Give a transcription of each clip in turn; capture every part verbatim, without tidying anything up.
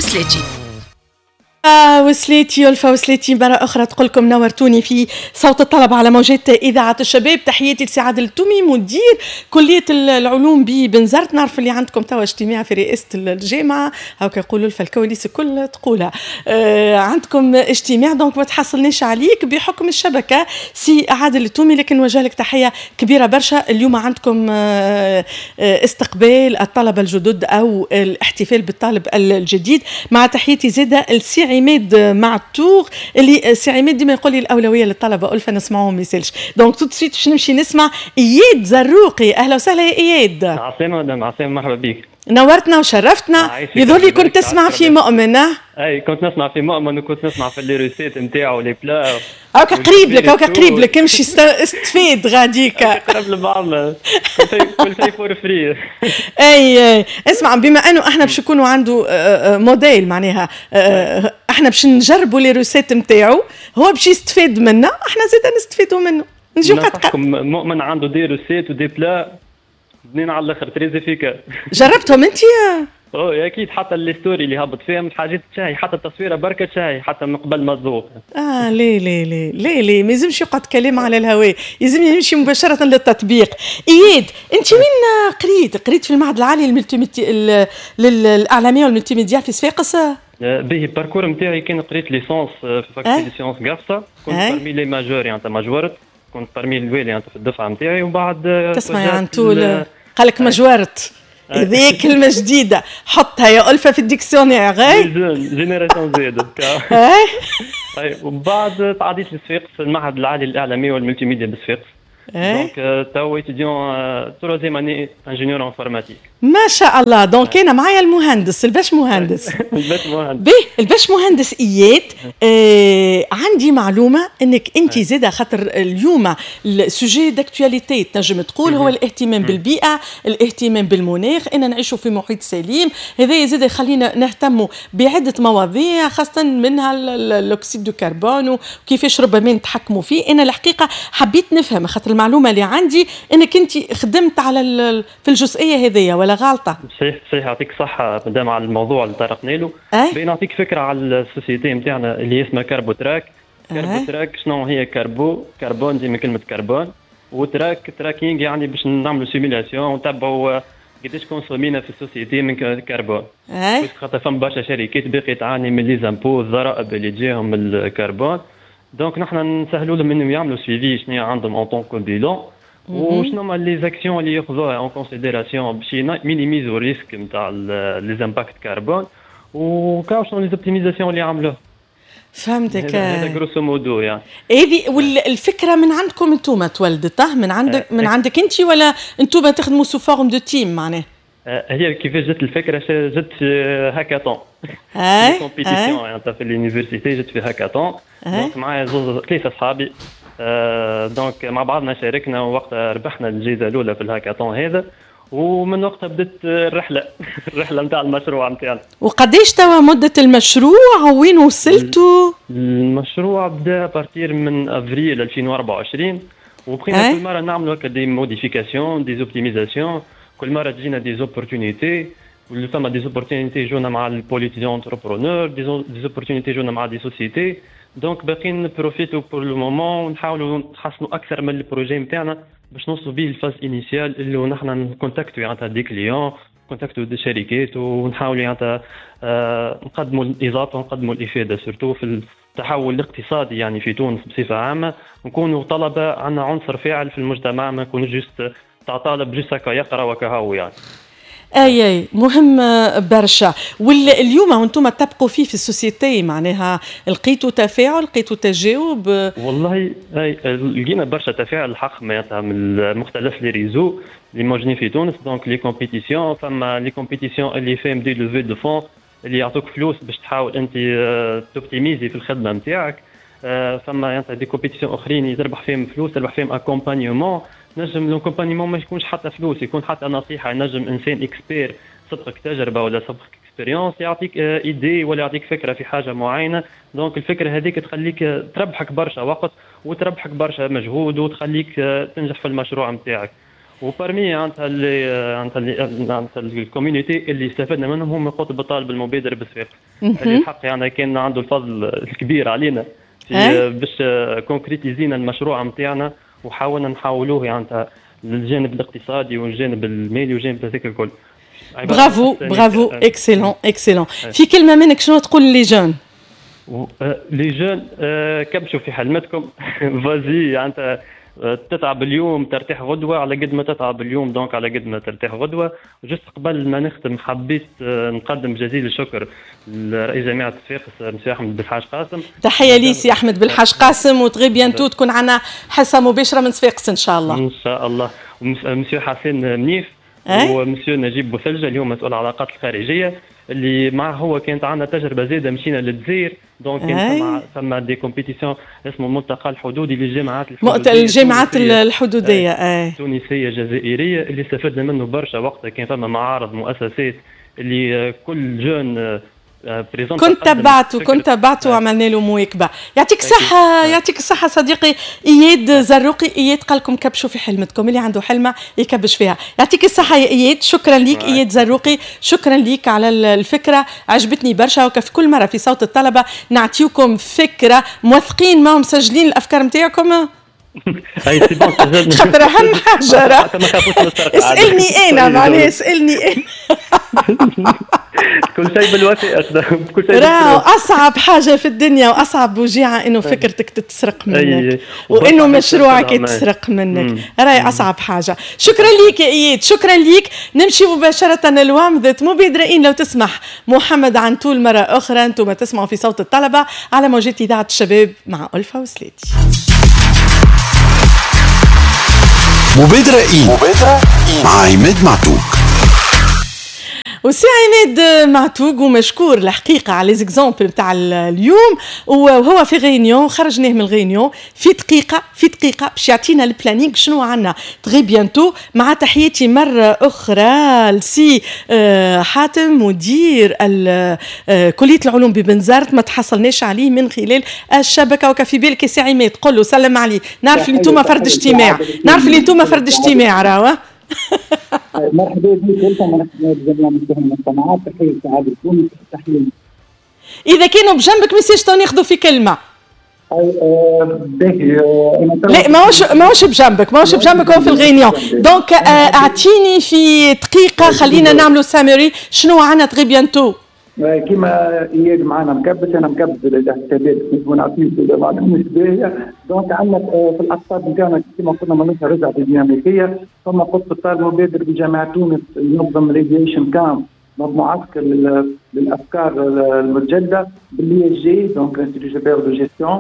السلاتي. آه وسليتي ألفا وسليتي مرة أخرى تقول لكم نورتوني في صوت الطلبة على موجات إذاعة الشباب. تحياتي لسي عادل التومي مدير كلية العلوم ببنزرت. نعرف اللي عندكم توا اجتماع في رئاسة الجامعة، هاكا يقولوا ألفا الكواليس الكل تقولها. آه عندكم اجتماع donc ما تحصلناش عليك بحكم الشبكة سي عادل التومي، لكن نوجه لك تحية كبيرة برشا. اليوم عندكم آه استقبال الطلبة الجدد أو الاحتفال بالطالب الجديد، مع تحياتي زادة لسي عماد معتوق اللي سي عماد ديما يقول لي الاولوية للطلبة الفا نسمعوهم ما يسالش. donc tout de suite باش نمشي نسمع اياد زروقي. اهلا وسهلا يا اياد. عسلامة مدام، عسلامة، مرحبا بك. نورتنا وشرفتنا. يظهر لي كنت تسمع في مؤمن. اي كنت نسمع في مؤمن وكنت نسمع في les recettes نتاعو les plats. هاكا قريب لك، هاكا قريب لك، امشي استفيد غاديك. قرب لبعضنا، كل شيء for free. اي اي اسمع، بما انه احنا باش يكونوا عنده موديل معناها احنا باش نجربوا les recettes نتاعو، هو باش يستفاد منا، احنا زاد نستفيدوا منه. نجيو قد مؤمن عنده des recettes و des plats بنين على الاخر، très efficaces. جربتهم انت؟ اوه اكيد، حتى les stories اللي هبط فيهم حاجات تشهي، حتى التصويره بركة تشهي حتى من قبل ما تذوق. اه ليه ليه ليه ليه ليه ما يلزمش يقعد كلام على الهواء، يلزم يمشي مباشرة للتطبيق. اياد انت وين قريت؟ قريت في المعهد العالي لل multimédi... للاعلاميه وال multimédia في صفاقس؟ باهي، ال parcours نتاعي كان قريت licence في faculté sciences قفصه، كنت parmi les majors، يعني ماجورت، كنت parmi الوالي يعني في الدفعة نتاعي، وبعد تسمع يعني طول قال لك مجورت، هذه كلمة جديدة حطها يا ألفة في ال dictionnaire. génération Z. اي ومن بعد تعديت لصفاقس، المعهد العالي للإعلامية وال multimédia بصفاقس. donc توا étudiant troisième année ingénieur informatique. ما شاء الله. donc انا معايا المهندس الباش مهندس. الباش مهندس. به الباش مهندس اياد، آه عندي معلومة انك انت زاده، خاطر اليوم ال sujet d'actualité تنجم تقول هو الاهتمام بالبيئه، الاهتمام بالمناخ، ان نعيشوا في محيط سليم، هذا زاد يخلينا نهتموا بعده مواضيع خاصة منها l'oxyde de carbone وكيفاش ربما نتحكموا فيه. انا الحقيقة حبيت نفهم، خاطر المعلومة اللي عندي انك انت خدمت على في الجزئية هذيا، ولا غلطه؟ صحيح صحيح، يعطيك الصحة مدام على الموضوع اللي طرقنا له. باهي نعطيك فكرة على ال société نتاعنا اللي اسمها Carbo Track. Carbo Track شنو هي؟ carbo carbone ديما كلمة كربون، و track tracking، يعني باش نعملوا simulation ونتبعوا قداش consommينا في ال société من كربون. خاطر فما برشا شركات باقي تعاني من les impôts، الضرائب اللي تجيهم من ال carbone. donc نحن نسهلوا لهم انهم يعملوا suivi شنو عندهم en tant que bilan وشنو هما les actions اللي ياخذوها en considération باش minimisو risque نتاع les impacts carbone، وكاو شنو les optimisations اللي عملوها. فهمتك. هذا grosso modo يعني. هذه والفكرة من عندكم انتم تولدت من عندك من عندك انت ولا انتم تخدموا sous forme de team معناها؟ هي كيفاش جت الفكره؟ جت في هاكاثون، compétition يعني في l'université، جت في hackathon. donc معايا زوز ثلاثة اصحابي، donc مع بعضنا شاركنا، ووقتها ربحنا الجائزة الاولى في الهاكاثون هذا، ومن وقتها بدت الرحله الرحله نتاع المشروع نتاعنا. وقديش توا مده المشروع؟ وين وصلتوا؟ المشروع بدا à partir من افريل ألفين وأربعة وعشرين، وبقينا كل مرة نعملوا هكا des modifications، des optimisations، كل مرة تجينا des opportunités، واللي فما des opportunités جونا مع ال pôle étudiant entrepreneur، des opportunités جونا مع des sociétés. donc باقيين profitو pour le moment ونحاولوا نحسنوا اكثر من ال projet نتاعنا باش نوصلوا به ال phase initiale اللي نحن نcontactو يعني des clients، contactو des شركات، ونحاولوا يعني آه، نقدموا الاضافة ونقدموا الافادة surtout في التحول الاقتصادي يعني في تونس بصفة عامه. نكونوا طلبه عندنا عنصر فاعل في المجتمع، ما نكونوش juste تاع طالب juste هكا يقرا وكهو يعني. اي اي مهم برشا. واليوم وانتم تبقوا فيه في ال société معناها لقيتوا تفاعل، لقيتوا تجاوب؟ والله اي، لقينا برشا تفاعل الحق معناتها من مختلف les réseaux اللي موجودين في تونس. donc les compétitions، فما les compétitions اللي فيهم des levées de fonds، اللي يعطوك فلوس باش تحاول انت t'optimiser في الخدمة نتاعك. فما يعني des compétitions اخرين تربح فيهم فلوس، تربح فيهم accompagnement. نجم l'accompagnement ما يكونش حتى فلوس، يكون حتى نصيحه، نجم انسان expert سبقك تجربه ولا سبقك expérience يعطيك idée ولا يعطيك فكرة في حاجة معينه. donc الفكرة هذيك تخليك تربحك برشا وقت وتربحك برشا مجهود وتخليك تنجح في المشروع نتاعك. و parmi معناتها اللي معناتها معناتها ال community اللي استفدنا منهم هم قطب الطالب المبادر بصفاقس، اللي الحق يعني كان عنده الفضل الكبير علينا في باش concrétis ينا المشروع نتاعنا، وحاولنا نحولوه يعني للجانب الاقتصادي والجانب المالي والجانب هذاك الكل. bravo bravo، excellent excellent. في كلمة منك شنو تقول les jeunes؟ les jeunes، كبشوا في حلمتكم، vas-y. يعني تتعب اليوم ترتاح غدوه، على قد ما تتعب اليوم donc على قد ما ترتاح غدوه. juste قبل ما نختم حبيت نقدم جزيل الشكر لرئيس جامعه صفاقس مسيو احمد بالحاج قاسم. تحية لي سي احمد بالحاج قاسم، و très bientôt تكون عندنا حصة مباشرة من صفاقس ان شاء الله. ان شاء الله. ومسيو حسين منيف ومسيو نجيب بوثلجه اللي هو مسؤول العلاقات الخارجيه، اللي معه هو كانت عندنا تجربه زاده، مشينا للجزائر، donc كان ثم ثم des compétitions اسمه ملتقى الحدودي للجامعات الحدوديه. الجامعات الحدوديه، اي، تونسية جزائريه، اللي استفدنا منه برشا. وقتها كان فما معارض مؤسسات اللي كل jeune كنت تبعته كنت تبعته وعملنا له مواكبه. يعطيك الصحه، يعطيك الصحة صديقي اياد زروقي. اياد قال لكم كبشوا في حلمتكم، اللي عنده حلمه يكبش فيها. يعطيك الصحة يا اياد، شكرا ليك اياد زروقي، شكرا ليك على الفكره، عجبتني برشا. وكيف كل مرة في صوت الطلبة نعطيكم فكره، موثقين ما مسجلين الافكار نتاعكم؟ اي c'est bon. خاطر اهم حاجة اسالني انا، معناها اسالني انا. كل شيء بالوثائق، كل شيء. راهو اصعب حاجة في الدنيا واصعب وجيعه انه فكرتك تتسرق منك وانه مشروعك يتسرق منك، راهي اصعب حاجه. شكرا ليك يا اياد، شكرا ليك. نمشي مباشرة لومضه مبادرين لو تسمح محمد عنتول مرة اخرى. انتم تسمعوا في صوت الطلبة على موجات اذاعة الشباب مع الفا وسليتي. مبادرة إيه؟ مبادرة إيه؟ مع عماد معتوق. وسي عماد معتوق ومشكور الحقيقة على les exemples نتاع اليوم، وهو في réunion، خرجناه من ال réunion في دقيقه، في دقيقة باش يعطينا ال planning شنو عندنا très bientôt. مع تحياتي مرة اخرى لسي آه، حاتم مدير آه، كليه العلوم ببنزرت، ما تحصلناش عليه من خلال الشبكه. وكفي بالك سي عماد قول له سلم عليه، نعرف اللي انتم فرد اجتماع، نعرف اللي انتم فرد اجتماع راهو. مرحبا بك انت، مرحبا بجميع المستمعات، تحية سعادة تونس، تحيه. اذا كانوا بجنبك message تو ناخذوا في كلمه. باهي. لا ماهوش ماهوش بجنبك، ماهوش بجنبك، هو في ال réunion. donc اعطيني في دقيقة خلينا نعملوا summary شنو عندنا très bientôt. كيما اياد معنا مكبس، انا مكبس الحسابات ونعطيه معلومة مش باهيه. donc عندنا في الاقطاب نتاعنا كيما قلنا ماناش رجع في الديناميكيه. ثم قطب الطالب المبادر بجامعة تونس ينظم l'idéation camp، معسكر للافكار المتجددة بال ISG، donc l'Institut supérieur de gestion،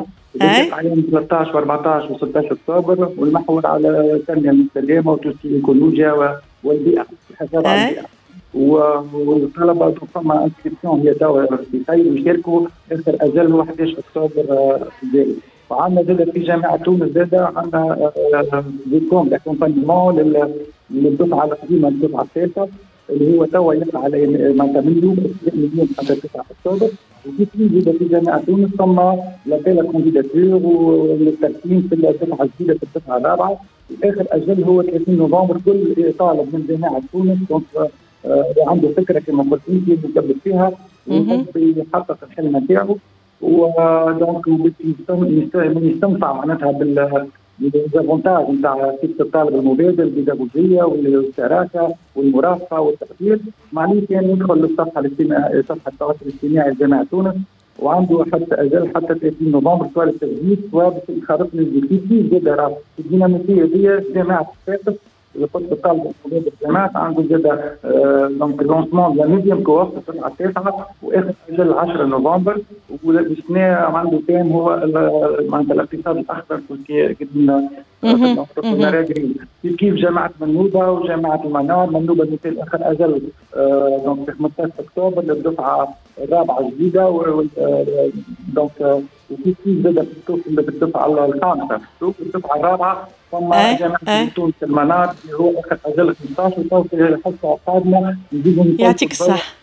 عليهم ثلاثة عشر وأربعة عشر وستة عشر اكتوبر، والمحور على التنمية المستدامة وتوسيع الايكولوجيا والبيئه، الحفاظ على البيئه. والطلبة فما inscription هي توا في خير ويشاركوا، اخر اجل هو أحد عشر اكتوبر الجاي. وعندنا زاد في جامعه تونس زاد عندنا des camps d'accompagnement للدفعه القديمه، الدفعة الثالثه، اللي هو توا يقع على معناتها من اليوم، من اليوم حتى تسعة اكتوبر. وفي زاد في جامعه تونس ثم l'appel à candidatures والترسيم في الدفعة الجديده، في الدفعة الرابعه، اخر اجل هو ثلاثين نوفمبر. كل طالب من جامعه تونس donc آه عنده فكرة كما قلت انت يثبت فيها ويحب يحقق الحلم نتاعو، و donc يستنفع معناتها بال les avantages نتاع فكرة الطالب المبادر، البيداغوجيه والشراكه والمرافقه والتاثير، معناه كان يدخل للصفحه الاجتماعية، صفحة التواصل الاجتماعي لجامعة تونس، وعنده حتى اجل حتى ثلاثين نوفمبر، سواء للتسجيل سواء باش يخرج لل زاد راه الديناميكيه دي جامعه صفاقس، قطب الطالب المبادر الجامعات عنده زاد donc lancement la neuvième cohorte، الدفعة التاسعه، واخر اجل عشرة نوفمبر. والسنة عنده thème هو معناتها الاقتصاد الاخضر، قدمنا كيف جامعه منوبه وجامعة المنار. منوبه مثال اخر اجل donc في خمسة عشر اكتوبر للدفعه الرابعة الجديده، donc وكيف كيف زاد في الدفعة الخامسه، الدفعة الرابعه. ثم جامعه تونس المنار اللي هو اخر اجل خمسة عشر، وتو في الحصة القادمة نزيدوا. يعطيك الصحه،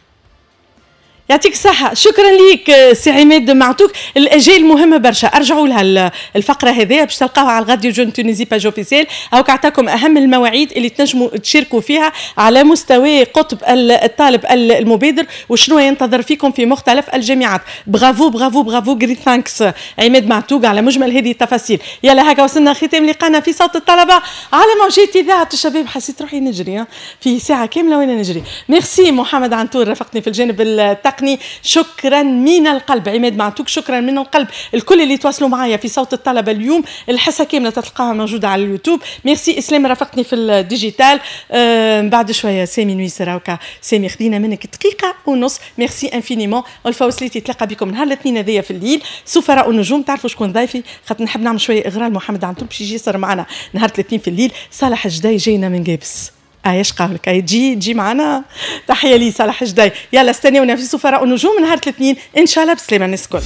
يعطيك الصحة، شكرا ليك سي عماد معتوك. الأجيال مهمة برشا، أرجعوا لها الفقرة هذه باش تلقاوها على ال Radio Jeune Tunisie page officielle، هاوك عطاكم أهم المواعيد اللي تنجموا تشاركوا فيها على مستوى قطب الطالب المبادر وشنو ينتظر فيكم في مختلف الجامعات. bravo bravo bravo، great thanks عماد معتوق على مجمل هذه التفاصيل. يلا هكا وصلنا ختام لقانا في صوت الطلبة على موجات إذاعة الشباب. حسيت روحي نجري في ساعة كاملة وأنا نجري. ميرسي محمد عنتور رافقني في الجانب التقني، شكرا من القلب عماد معتوك، شكرا من القلب الكل اللي تواصلوا معايا في صوت الطلبة اليوم. الحصة كاملة تلقاها موجودة على اليوتيوب. ميرسي اسلام رافقتني في ال digital. آه بعد شوية سامي نويسر، هاكا سامي خدينا منك دقيقة ونص. merci infiniment. ألفة وسليتي تلاقى بكم نهار الاثنين هذايا في الليل سفراء النجوم. تعرفوا شكون ضيفي؟ خاطر نحب نعمل شوية اغراء محمد عنتور باش يجي يصير معنا نهار الاثنين في الليل. صالح الجداي جاينا من قابس، ايش قولك؟ اي تجي تجي معنا. تحية لي صالح جداي. يلا استنونا في سفراء النجوم نهار الاثنين ان شاء الله. بسلامه الناس الكل.